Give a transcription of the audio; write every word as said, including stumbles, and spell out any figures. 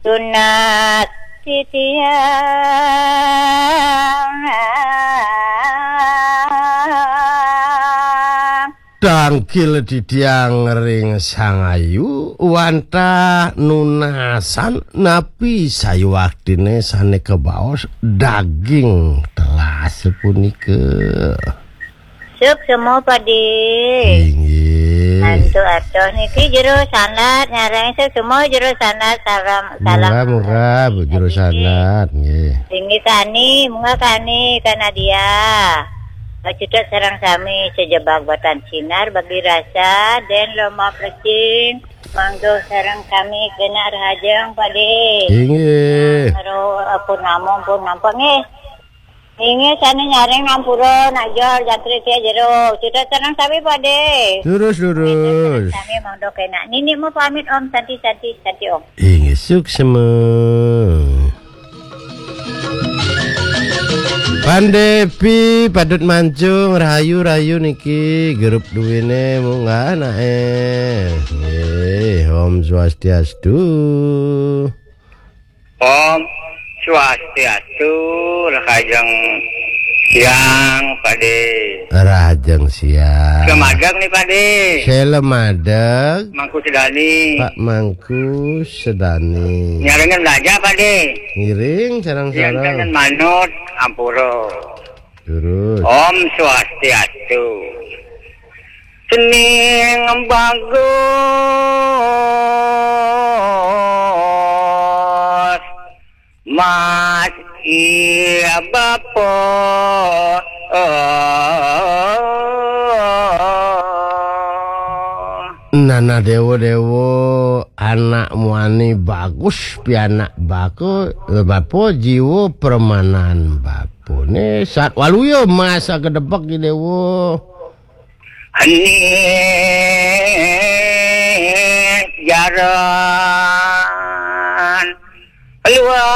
Tunas titiang. Tangkil titiang ring Sang Ayu, wantah nunasan napi sayuaktine sane kabaos daging telas punika. Suksma, Padi. Inggih. Antuk atuh niki Jero Sanad, nyareng suksma Jero Sanad, salam, salam. Murah, murah, Bu Jero Sanad, nggih. Inggih, kani, munggah kani, Kak Nadia. Macutet sareng sami, sajebag batan sinar bagi rasa, den lomba plecing, mangga sareng kami kena rahajeng, Padi. Inggih. Karo, eh, pun namung, pun nampak, nggih. Inggih, sane nyareng ngampura, nak jor, jangkrik sia jero. Cutet sareng sami, Padi. Lurus, lurus. Sami mangda kena. Nini mau pamit, Om. Santi, santi, santi, Om. Inggih, suksma. Pandepi patut mancung, rahayu-rahayu niki, grup duwene munggah anake. Nggih, Om Swastiastu. Om Swastiastu, rahajeng siang, Padi. Rahajeng siang. Selamadeg nih, Padi. Selamadeg. Mangku Sedani. Pak Mangku Sedani. Nyarengan belajar, Padi. Ngiring, sareng-sareng. Yang manut, ampura. Terus. Om Swastiastu. Sening bagus, Mas, iya, Bapa. Nana dewa-dewa, anak muani bagus, pianak bako, bapa jiwa permanan bapane. Sat waluya masa kedepek di dewa. Anis jaran luar